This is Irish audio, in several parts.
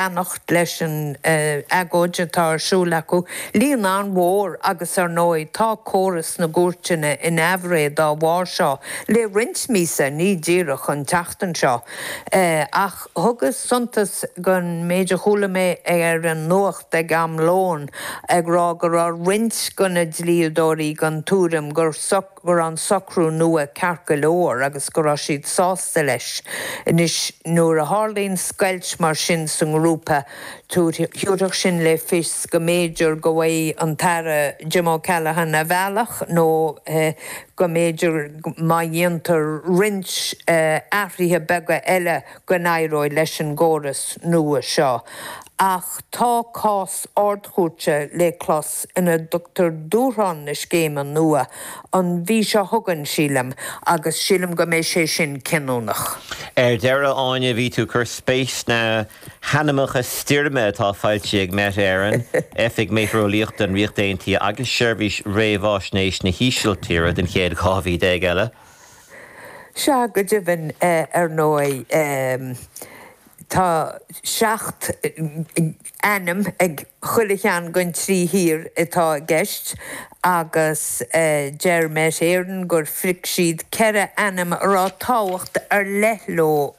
Leanacht leis an agóid atá ar siúl acu, líon an-mhór agus ar ndóigh tá córas na gcúirteanna in aimhréidh dá bharr seo le roinnt míosa, ní díreach an tseachtain seo. Ach thugas suntas don méid a chuala mé ar an nuacht ag am lóin ag rá go raibh roinnt de na dlíodóirí den tuairim gur go raibh an socrú nua ceart go leor agus go raibh siad sásta leis. Anois, nuair a tharlaíonn scoilt mar sin sa ngrúpa, thabharfadh sin le fios go mb'fhéidir go bhfaighidh an tAire Jim O'Callaghan a bhealach nó go mb'fhéidir má dhéantar roinnt athruithe beaga eile go n-éireoidh leis an gcóras nua seo. Ach tá cás Ard-Chúirte le clos ina dtugtar dúshlán na scéime nua an mhí seo chugainn, sílim, agus sílim go mbeidh sé sin cinniúnach. Ar deireadh, Áine, bhí tú ag cur spéis sna hainmneacha stoirme atá foilsithe ag Met Éireann, Oifig Meitéareolaíochta an Ríocht Aontaithe agus Seirbhís Réamhaisnéis na hÍsiltíre don chéad 12 mhí eile. Sea, go deimhin, ar ndóigh, tá 7 n-ainm ag chuile cheann den trí thír atá i gceist agus deir Met Éireann gur phrioc siad 4 ainm a raibh tábhacht ar leith leo,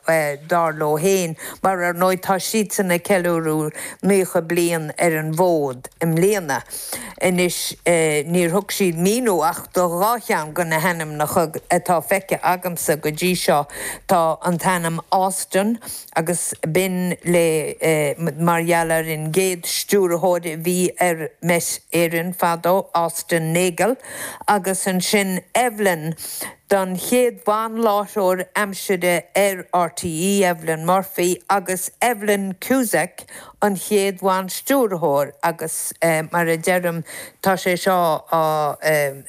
dar leo féin, mar ar ndóigh tá siadsan ag ceiliúradh 90 bliain ar an bhfód i mbliana. Anois, níor thug siad míniú ach do dhá cheann de na hainmneacha atá feicthe agamsa go dtí seo. Tá an t-ainm Austin, agus b'in le mar gheall ar an gcéad stiúrthóir a bhí ar Met Éireann fadó, Austin Nagle, agus ansin Evelyn, don chéad bhan-láithreoir aimsire ar RTÉ, Evelyn Murphy, agus Evelyn Cusack, an chéad bhan-stiúrthóir agus mar a deirim tá sé seo á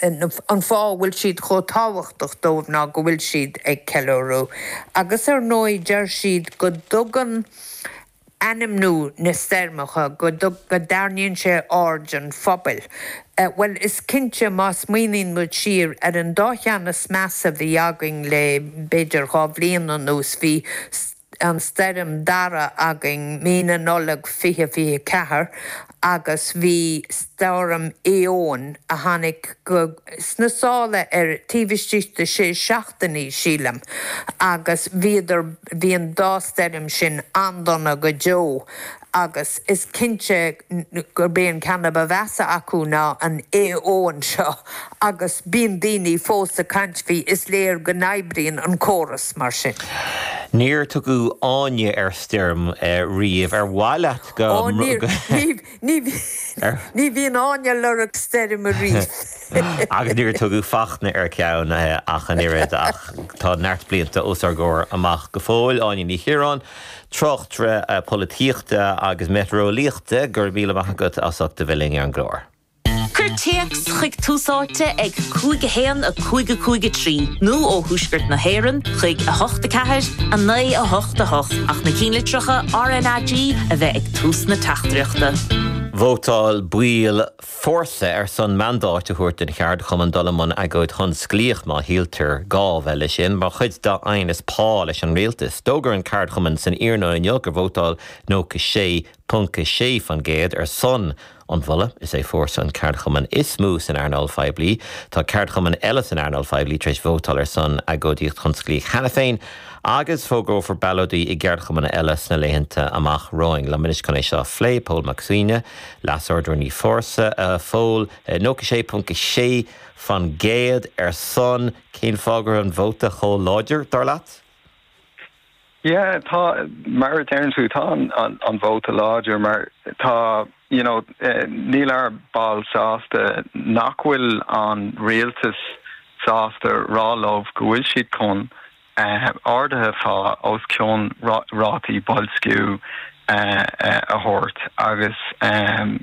an fáth a bhfuil siad chomh tábhachtach dóibh ná go bhfuil siad ag ceiliúradh agus ar ndóigh deir siad go dtugann ainmniú na stoirmeacha go go dtarraingíonn sé aird an phobail. Bhuel is cinnte má smaoiníonn muid siar ar an dá cheann is measa a bhí againn le b'fhéidir dhá bhliain anuas bhí an stoirm Darragh againn mí na Nollag 2024 agus bhí stoirm Éowyn a tháinig go sna sála ar taobh istigh de sé seachtainí sílim agus bhíodar bhí an dá stoirm sin an-dona go deo agus is cinnte gurb é an ceann a ba mheasa acu ná an Éowyn seo agus bíonn daoine fós ag caint faoi, is léir go n-oibríonn an córas mar sin. Níor tugadh Áine ar stoirm riamh. Ar mhaith leat go. Ó níor, ní, ní bhíonn Áine ag lorg stoirme riamh. Agus níor tugadh Fachtna ar cheann ach an oiread ach tá neart blianta os ár gcomhair amach go fóill. Áine Ní Chiaráin. Tráchtaire polaitíochta agus meitéareolaíochta, go raibh míle maith agat as ucht a bheith linn ar an gclár. Cuir téacs chuig Tús Áite ag 5 1 5 5 3 nó ó thuaisceart na hÉireann chuig 8 4 9 8 8 ach na cinnlitreacha RnaG a bheith ag tús na teachtaireachta. Vótáil baill Fórsa ar son mandáit a thabhairt don cheardchumann dul i mbun agóid thionsclaíoch má shíltear gá a bheith leis sin, mar chuid dá aighneas pá leis an rialtas. D'fhógair an ceardchumann san iarnóin inniu gur vótáil 96.6% ar son an mholadh. Is é Fórsa an ceardchumann is mó san earnáil phoiblí. Tá ceardchumainn eile san earnáil phoiblí tar éis vótáil ar son agóidíocht thionsclaíoch cheana féin agus fógrófar ballóidí i gceardchumainn eile sna laethanta amach romhainn. Liom anois chun é seo a phlé, Pól Mac Suibhne, Leas-Ardrúnaí Fórsa, a Phóil, 96.6% ar son. Cén fáth go raibh an vóta chomh láidir, dar leat? Yeah, tá, mar a deireann tú, tá an vóta láidir mar tá, you know, níl ár baill sásta nach bhfuil an rialtas sásta rá leo go bhfuil siad chun arduithe pá os cionn rátaí boilsciú a thabhairt agus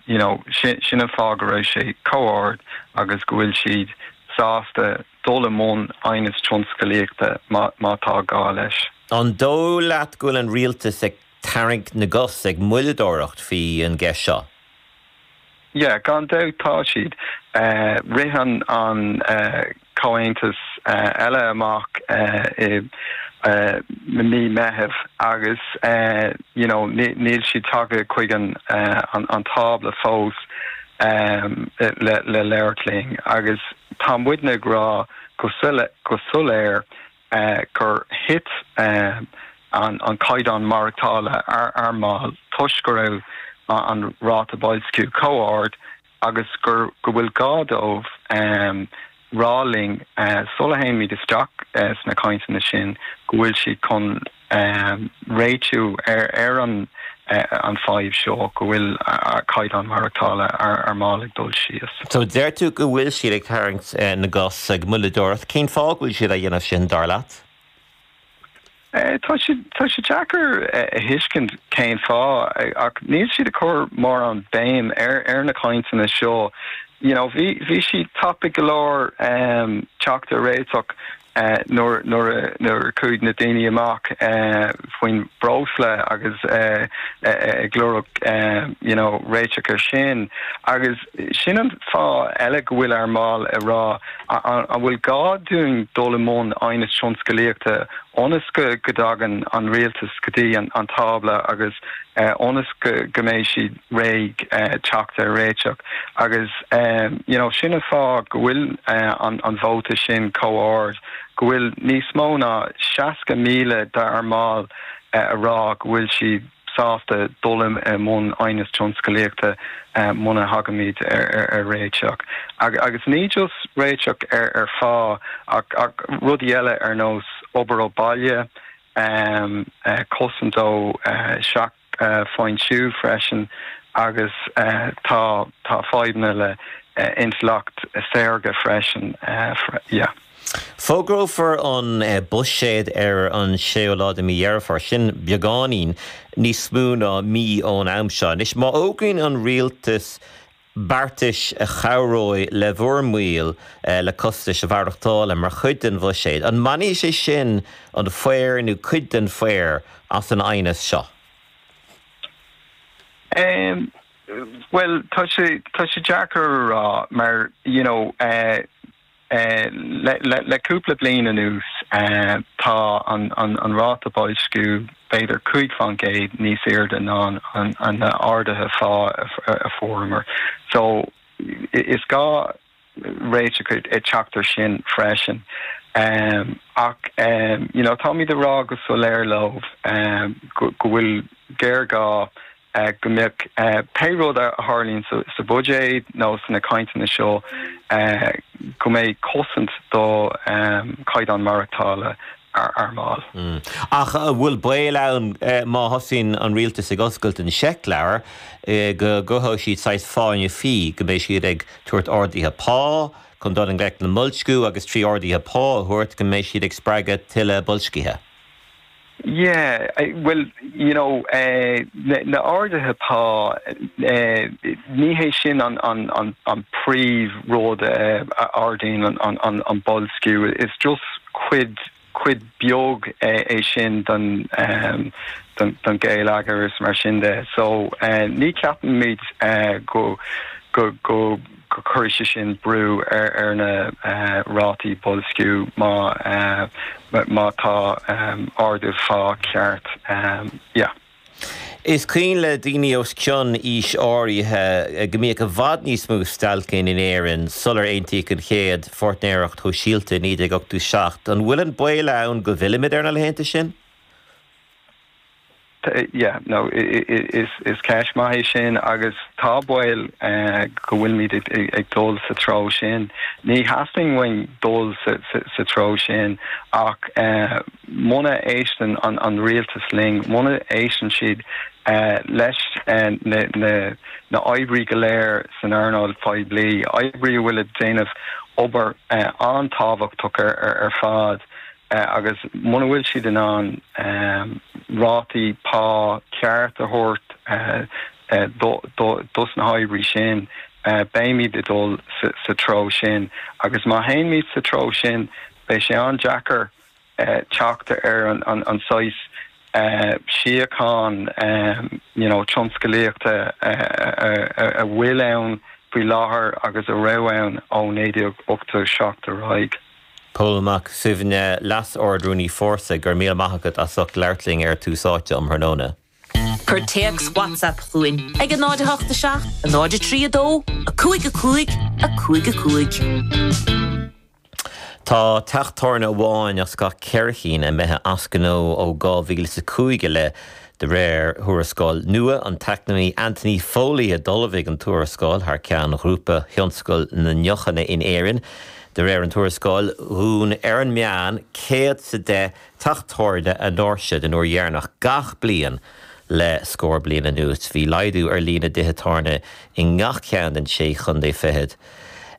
you know sin an fáth go raibh sé chomh ard agus go bhfuil siad sásta dul i mbun aighneas tionscalaíochta má tá gá leis. An dóigh leat go bhfuil an rialtas ag tarraingt na gcos, ag moilleadóireacht faoi an gceist seo? Yeah, gan dabht tá siad. Rith an comhaontas eile amach i. Mí Meitheamh agus you know níl siad tagtha chuig an an tábla fós le le labhairt linn agus tá muidne ag rá go go soiléir gur thit an an caighdeán maireachtála ár mball toisc go raibh an ráta boilsciú chomh ard agus gur go bhfuil gá dóibh rá linn sula théimid isteach sna cainteanna sin go bhfuil siad chun réitiú ar an an fadhb seo, go bhfuil caighdeán maireachtála ár mball ag dul síos. So deir tú go bhfuil siad ag tarraingt na gcos, ag moilleadóireacht. Cén fáth go bhfuil siad á dhéanamh sin, dar leat? Tá sé tá sé deacair a thuiscint cén fáth ach níl siad ag cur mórán béim ar ar na cainteanna seo. You know bhí bhí siad tapaidh go leor teacht ar réiteach nuair nuair a nuair a chuaigh na daoine amach faoin breosla agus ag lorg you know réiteach ar sin agus sin an fáth eile go bhfuil ár mbaill ag rá An bhfuil gá dúinn dul i mbun aighneas tionscalaíochta ionas go dtagann an rialtas go dtí an tábla agus ionas go mbeidh siad réidh teacht ar réiteach? Agus you know sin an fáth go bhfuil an vóta sin chomh ard, go bhfuil níos mó ná 60,000 dár mbaill a rá go bhfuil siad sásta dul i mbun aighneas tionscalaíochta muna thagaimid ar réiteach. Agus ní just réiteach ar phá ach rudaí eile ar nós obair ó bhaile, cosaint ó sheachfhoinsiú freisin agus tá fadhbanna le intleacht saorga freisin. Yeah. Fógrófar an buiséad ar an séú lá de mí Dheireadh Fómhair, sin beagáinín níos mó ná mí ón am seo. Anois, má fhógraíonn an rialtas beartais a chabhróidh le bhur mbaill le costais mhaireachtála mar chuid den bhuiséad, an mbainfidh sé sin an faobhar nó cuid den bhfaobhar as an aighneas seo? Bhuel, tá sé, tá sé deacair a rá mar, you know, Le cúpla bliain anuas tá an ráta boilsciú b'fhéidir 5% níos airde ná na arduithe phá a fuaireamar. So is gá réiteach ag teacht ar sin freisin. Ach you know táimid ag rá go soiléir leo go bhfuil géarghá go mbeadh pé rud a tharlaíonn sa bhuiséad nó sna cainteanna seo, go mbeidh cosaint do chaighdeán maireachtála ár mball. Ach an bhfuil baol ann má thosaíonn an rialtas ag oscailt an seicleabhair go gcruthóidh siad saghas fáinne fí, go mbeidh siad ag tabhairt arduithe pá chun dul i ngleic le mboilsciú agus trí arduithe pá a thabhairt go mbeidh siad ag spreagadh tuilleadh boilscithe? Yeah, bhuel, you know, na arduithe pá, ní hé sin an príomh rud a ardaíonn an boilsciú, is just cuid, cuid beag é sin den gheilleagar is mar sin de. So, ní ceapaimid go, go, go, go gcuirfidh sé sin brú ar na rátaí boilsciú má má tá ardú phá ceart. Yeah. Is cuimhin le daoine os cionn aois áirithe go mbíodh i bhfad níos mó stailceanna in Éirinn sular aontaíodh an chéad pháirtnéireacht shóisialta i 1987. An bhfuil an baol ann go bhfillfimid ar na laethanta sin? Yeah, no, is ceist maith é sin agus tá baol go bhfuilimid ag dul sa treo sin. Ní theastaíonn uainn dul sa treo sin ach muna éisteann an rialtas linn, muna éisteann siad leis na oibrí go léir san earnáil phoiblí, oibrí a bhfuil ag déanamh obair an-tábhachtach ar fad, agus muna bhfuil siad in ann rátaí pá ceart a thabhairt dos na hoibrí sin, beimid ag dul sa treo sin. Agus má théimid sa treo sin, beidh sé an-deacair teacht ar an saghas síocháin you know tionscalaíochta a bhfuil ann faoi láthair agus a raibh ann ó 1987 ar aghaidh. Pól Mac Suibhne, Leas-Ard-Rúnaí Fórsa, go raibh míle maith agat as ucht labhairt linn ar Tús Áite um thráthnóna. Cuir téacs WhatsApp chugainn ag 0 8 7 0 3 2 5 5 5 5. Tá teach tábhairne amháin as gach 4 chinn imithe as gnó ó 2005 i leith, de réir thuarascáil nua. An t-eacnamaí Anthony Foley a d'ullmhaigh an tuarascáil thar ceann Ghrúpa Thionscal na nDeochanna in Éirinn. De réir an tuarascáil, dhún ar an meán 110 teach tábhairne a ndoirse den uair dheireanach gach bliain le scór bliain anuas. Bhí laghdú ar líon na dtithe tábhairne i ngach ceann den sé chontae fichead.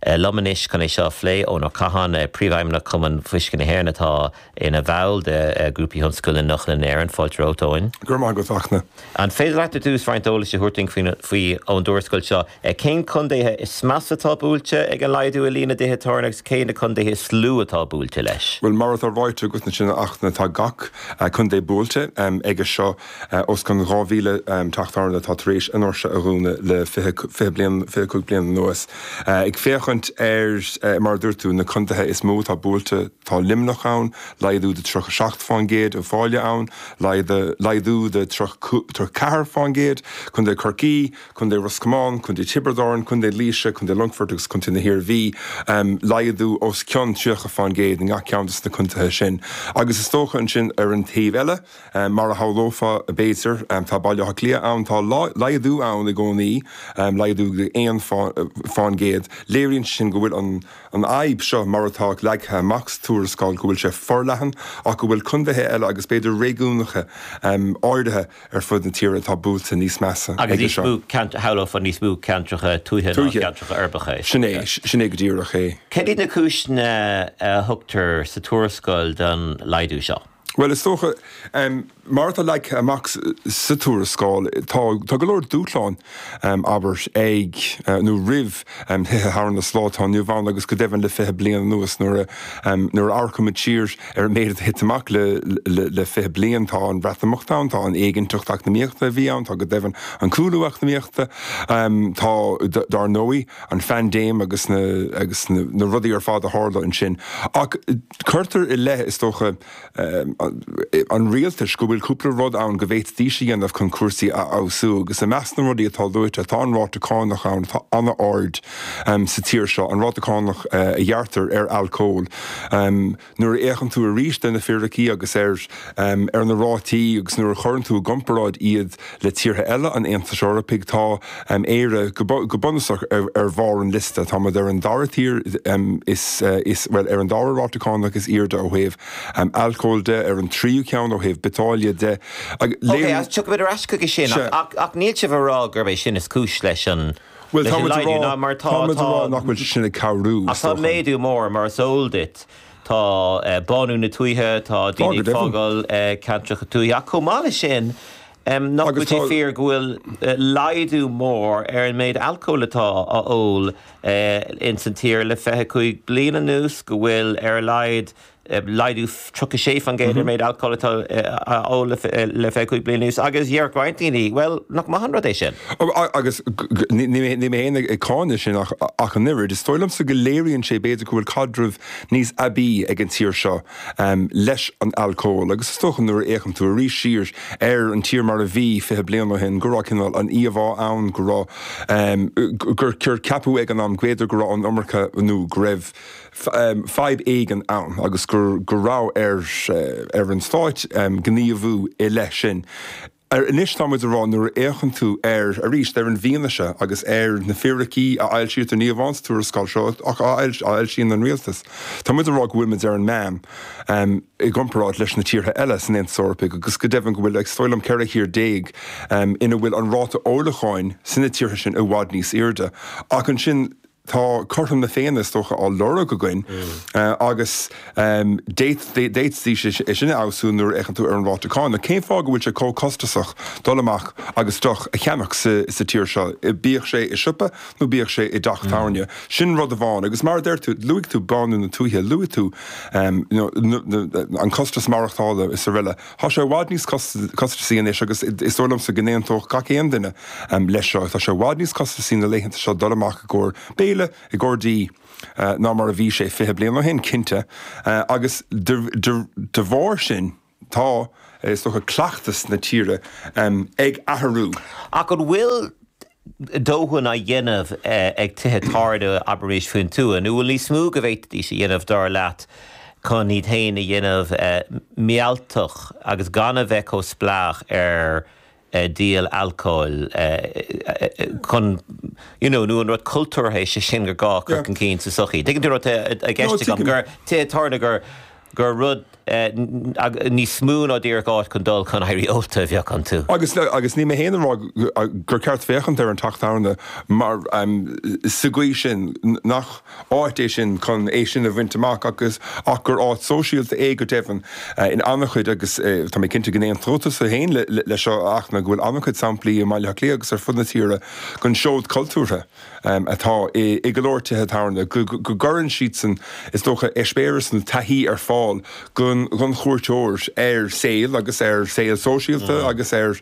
Liom anois chun é seo a phlé, Eoin Ó Catháin, Príomhfheidhmeannach Chumann Fuisce na hÉireann atá ina bhall de Ghrúpa Thionscal na nDeochanna in Éirinn. Fáilte romhat, Eoin. Go raibh maith agat, Fachtna. An féidir leat ar dtús roinnt eolais a thabhairt dúinn faoi ón dtuarascáil seo? Cén contaetha is measa atá buailte ag an laghdú i líon na dtithe tábhairne agus cé na contaetha is lú atá buailte leis? Bhuel, mar atá ráite agat ansin, a Fhachtna, tá gach contae buailte aige seo. Os cionn 2,000 teach tábhairne atá tar éis a ndoirse a dhúnadh le 20 bliain, 25 bliain anuas. Ag féachaint ar, mar a dúirt tú, na contaetha is mó atá buailte, tá Luimneach ann, laghdú de 37%, Uíbh Fhailí ann, laghdú de 34%, Contae Chorcaí, Contae Ros Comáin, Contae Tiobraid Árann, Contae Laoise, Contae Longfoirt agus Contae na hIarmhí, laghdú os cionn 30% i ngach ceann de na contaetha sin. Agus is dócha ansin ar an taobh eile, Mar a shamhlófá, b'fhéidir, tá Baile Átha Cliath ann, tá laghdú ann i gcónaí, laghdú de 1%. Léiríonn sé sin go bhfuil an fhadhb seo, mar atá leagtha amach sa tuarascáil, go bhfuil sé forleathan ach go bhfuil contaetha eile agus b'fhéidir réigiúnacha áirithe ar fud na tíre atá buailte níos measa aige seo. Agus níos mó, shamhlófá níos mó ceantracha tuaithe ná ceantracha uirbeacha. Sin é, sin é go díreach é. Céard iad na cúiseanna a thugtar sa tuarascáil don laghdú seo? Bhuel, is dócha, mar atá leagtha amach sa tuarascáil, tá tá go leor dúshlán, abair, ag nó roimh thithe tábhairne sa lá atá inniu ann agus go deimhin le 20 bliain anuas. Nuair a nuair a amharcaimid siar ar an méid atá tite amach le le 20 bliain, tá an Bhreatimeacht ann, tá an éiginnteacht eacnamaíochta a bhí ann, tá go deimhin an cúlú eacnamaíochta, tá, dar ndóigh, an phaindéim agus na agus na rudaí ar fad a tharla ansin. Ach cuirtear i leith, is dócha, an rialtais go bhfuil cúpla rud ann go bhféadfaidís a dhéanamh chun cúrsaí a fheabhsú agus i measc na rudaí atá luaite tá an ráta cánach ann atá an-ard sa tír seo, an ráta cánach a ghearrtar ar alcól. Nuair a fhéachann tú arís ar na fíricí agus ar ar na rátaí agus nuair a chuireann tú i gcomparáid iad le tíortha eile an Aontais Eorpaigh, tá Éire go bunúsach ar bharr an liosta. Táimid ar an dara tír is, bhuel, ar an dara ráta cánach is airde ó thaobh alcóil de, ar an tríú ceann ó thaobh biotáille de. Ok, tiocfaimid ar ais chuige sin, ach níl sibh ag rá gurb é sin is cúis leis an Bhuel, táimid a rá, mar tá, táimid a rá nach bhfuil sé sin ag cabhrú, is dócha. Ach tá méadú mór, mar is eol duit, tá bánú na tuaithe, tá daoine ag fágáil ceantracha tuaithe, ach chomh maith leis sin, Nach bhfuil sé fíor go bhfuil laghdú mór ar an méid alcóil atá á ól ins an tír le 25 bliain anuas, go bhfuil ar a laghad laghdú 36% ar an méid alcóil atá á ól le 25 bliain anuas agus déarfadh roinnt daoine, bhuel, nach maith an rud é sin? Agus níl mé féin ag cáineadh sin ach an oiread. Is dóigh liomsa go léiríonn sé b'fhéidir go bhfuil caidreamh níos aibí ag an tír seo leis an alcól agus is dócha nuair a fhéachann tú arís siar ar an tír mar a bhí 20 bliain ó shin go raibh cineál an íomhá ann go raibh gur ceapadh ag an am b'fhéidir go raibh an iomarca nó go raibh fadhb éigin ann agus go raibh ar ar an stáit gníomhú i leith sin. Anois tá muid ag rá nuair a fhéachann tú ar, arís, ar an bhfianaise agus ar na fíricí a fhoilsítear, ní amháin sa tuarascáil seo ach a fhoilsíonn an rialtas, tá muid ag rá go bhfuil muid ar an meán i gcomparáid leis na tíortha eile san Aontas Eorpaigh agus go deimhin go bhfuil, is dóigh liom, 14 thír ina bhfuil an ráta ólacháin sna tíortha sin i bhfad níos airde. Ach ansin. Tá cothrom na Féinne, is dócha, á lorg againn agus d'fhéadfaidís é sin a fheabhsú nuair a fhéachann tú ar an ráta cánach. Cén fáth go bhfuil sé chomh costasach dul amach agus deoch a cheannach sa tír seo, bíodh sé i siopa nó bíodh sé i dteach tábhairne? Sin rud amháin. Agus mar a deir tú, luaigh tú bánú na tuaithe, luaigh tú an costas maireachtála is araile. Tá sé i bhfad níos costasaí anois agus is dóigh liomsa go n-aontódh gach aon duine leis seo, tá sé i bhfad níos costasaí na laethanta seo dul amach i gcomhair béile. éileamh i gcomhair dí ná mar a bhí sé 20 bliain ó shin, cinnte, agus de bharr sin tá, is dócha, cleachtas na tíre ag athrú. Ach an bhfuil dóthain á dhéanamh ag tithe tábhairne, abraimis, faoin tuath, nó bhfuil níos mó go bhféadfaidís a dhéanamh, dar leat, chun iad féin a dhéanamh mealltach agus gan a bheith chomh spleách ar díol alcóil chun, you know, nó an rud cultúrtha é sé sin gur gá a chur chun cinn sa tsochaí. Tuigeann tú an rud atá i gceist agam, gur tithe tábhairne gur gur rud níos mó ná díreach áit chun dul chun éirí ólta a bheadh iontu. Agus agus níl mé féin ag rá gur ceart féachaint ar an teach tábhairne mar sa gcaoi sin, nach áit é sin chun é sin a bhaint amach agus ach gur áit sóisialta é go deimhin in an-chuid agus tá mé cinnte go n-aontóidh tusa féin leis seo a Fhachtna go bhfuil an-chuid samplaí i mBaile Átha Cliath agus ar fud na tíre den seod cultúrtha atá i go leor tithe tábhairne, go gcuireann siadsan is dócha eispéireas nó taithí ar fáil don chuairteoir ar saol agus ar saol sóisialta agus ar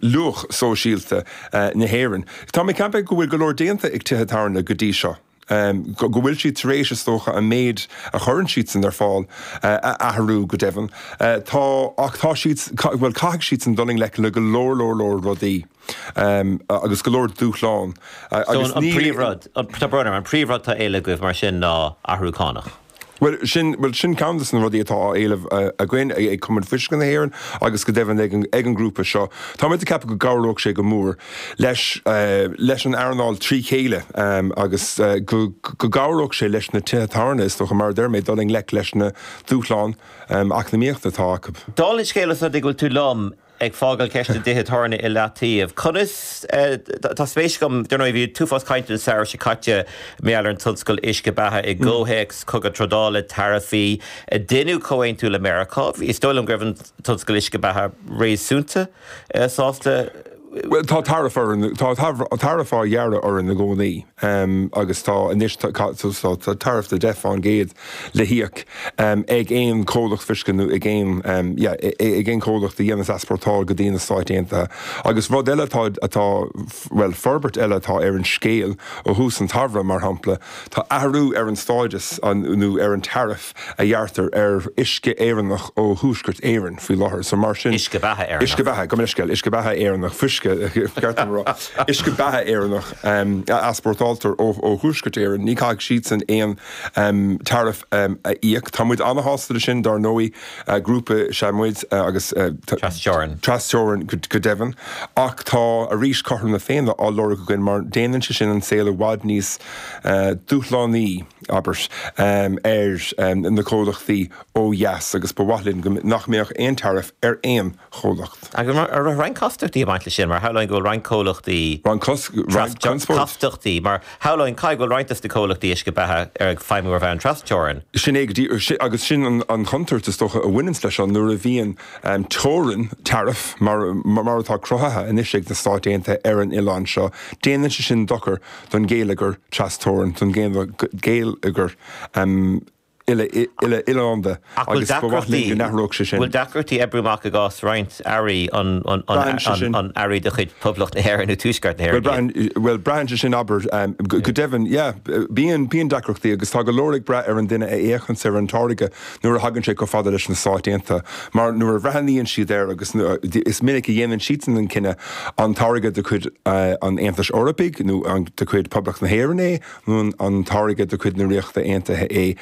luach sóisialta na hÉireann. Tá mé ag ceapadh go bhfuil go leor déanta ag tithe tábhairne go dtí seo, go bhfuil siad tar éis, is dócha, an méid a chuireann siadsan ar fáil a athrú go deimhin. Tá, ach tá siad, bhuel, caithfidh siadsan dul i ngleic le go leor, leor, leor rudaí agus go leor dúshlán agus ní. So an príomhrud, tá brón orm, an príomhrud atá á éileamh agaibh mar sin ná athrú cánach? Bhuel, sin, bhuel, sin ceann de na rudaí atá á éileamh againn ag Cumann Fuisce na hÉireann agus go deimhin ag an, ag an ngrúpa seo. Táimid ag ceapadh go gcabhródh sé go mór leis, leis an earnáil trí chéile agus go, go gcabhródh sé leis na tithe tábhairne, is dócha, mar a deir mé, dul i ngleic leis na dúshláin eacnamaíochta atá acu. Dála an scéil, os rud é go bhfuil tú liom, Ag fágáil ceist na dtithe tábhairne i leataobh, conas, tá spéis agam, dar ndóigh bhí an t-uafás cainte an samhradh seo caite mar gheall ar an tionscal uisce beatha i gcomhthéacs cogadh trádála, taraifí, deineadh comhaontú le Meiriceá, is dóigh liom go raibh an tionscal uisce beatha réasúnta sásta. Bhuel, tá taraif orainn, tá taraif á ghearradh orainn i gcónaí agus tá anois, tá taraif de 10 fán gcéad le híoc ag aon chomhlacht fuisce nó ag aon, yeah, ag aon chomhlacht a dhéanas easpórtáil go dtí na Stáit Aontaithe. Agus rud eile atá, atá, bhuel, forbairt eile atá ar an scéal ó thús an tsamhraidh, mar shampla, tá athrú ar an stádas nó ar an taraif a ghearrtar ar uisce Éireannach ó Thuaisceart Éireann faoi láthair. So mar sin. Uisce beatha Éireannach. Uisce beatha, gabh mo leithscéal, uisce beatha Éireannach, fuisce, ceart dom a rá. Uisce beatha Éireannach a easpórtáiltear ó Thuaisceart Éireann, ní chaithfidh siadsan aon taraif a íoc. Tá muid an-shásta leis sin, dar ndóigh, grúpa is ea muid agus. Trasteorann. Trasteorann go deimhin. Ach tá, arís, cothrom na Féinne á lorg againn mar déanann sé sin an saol i bhfad níos dúshlánaí. abair, ar na comhlachtaí ó dheas agus ba mhaith linn go nach mbeadh aon taraif ar aon chomhlacht. Agus an raibh roinnt castachtaí ag baint leis sin? Mar shamhlóinn go bhfuil roinnt comhlachtaí. Roinnt conspóid? Castachtaí, mar shamhlóinn, caithfidh go bhfuil roinnt de na comhlachtaí uisce beatha ag feidhmiú ar bhonn trasteorann. Sin é go díreach, agus sin an chontúirt is dócha a bhaineanns leis seo, nuair a bhíonn teorainn, tariff, mar mar atá cruthaithe anois ag na Stáit Aontaithe ar an oileán seo, déanann sé sin dochar don gheilleagar trasteorann, don gheilleagar uile-oileánda agus ba mhaith linn go n-athródh sé sin. Bhfuil deacrachtaí oibriú amach i gcás roinnt earraí, an earraí de chuid Poblacht na hÉireann nó Tuaisceart na hÉireann iad? Bhuel, braitheann sé sin, abair, go deimhin, yeah, bíonn, bíonn deacrachtaí agus tá go leor ag brath ar an duine a fhéachanns ar an táirge nuair a thagann sé chomh fada leis na Stáit Aontaithe, mar nuair a bhreathnaíonn siad air, agus is minic a dhéanann siadsan an cinneadh, an táirge de chuid an Aontais Eorpaigh nó de chuid Poblacht na hÉireann é, nó an táirge de chuid na Ríochta Aontaithe é,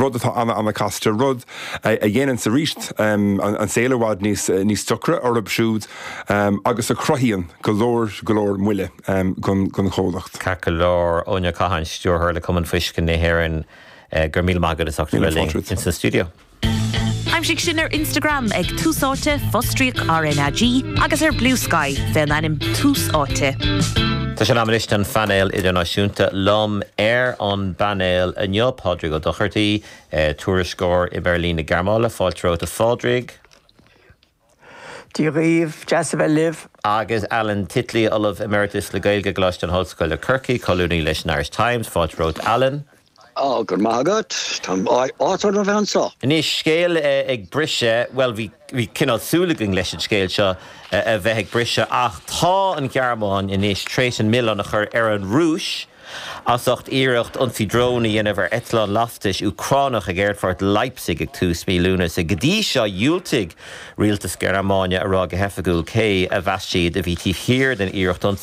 rud atá ana-ana-chasta, rud a dhéananns arís an saol i bhfad níos deacra orthu siúd agus a chruthaíonn go leor, go leor moille don chomhlacht. Ceart go leor, Eoin Ó Catháin, Stiúrthóir le Cumann Fuisce na hÉireann. Go raibh míle maith agat as ucht a bheith linn ins an stiúideo. Aimsigh sinn ar Instagram ag Tús Áite, fostríoc RnaG, agus ar Bluesky fén ainm Tús Áite. Tá sé in am anois don phainéal idirnáisiúnta. Liom ar an bpainéal inniu, Pádraig Ó Dochartaigh, tuairisceoir i mBeirlín na Gearmáine. Fáilte romhat a Phádraig. Dia dhaoibh, deas a bheith libh. Agus Alan Titley, Ollamh Emeritus le Gaeilge i gColáiste na hOllscoile Corcaigh, colúnaí leis an Irish Times. Fáilte romhat Alan. Á, go raibh maith agat. Tá áthas orm a bheith anseo. Anois, scéal ag briseadh, bhuel, bhí, bhí cineál súil againn leis an scéal seo a bheith ag briseadh ach tá an Ghearmáin anois tar éis an milleán a chur ar an Rúis. As ucht iarracht ionsaí drón a dhéanamh ar eitleán lastais Úcránach ag aerfort Leipzig ag tús mí Lúnasa. Go dtí seo, dhiúltaigh rialtas Gearmáine a rá go hoifigiúil cé a mheas siad a bhí taobh thiar den iarracht ionsaí.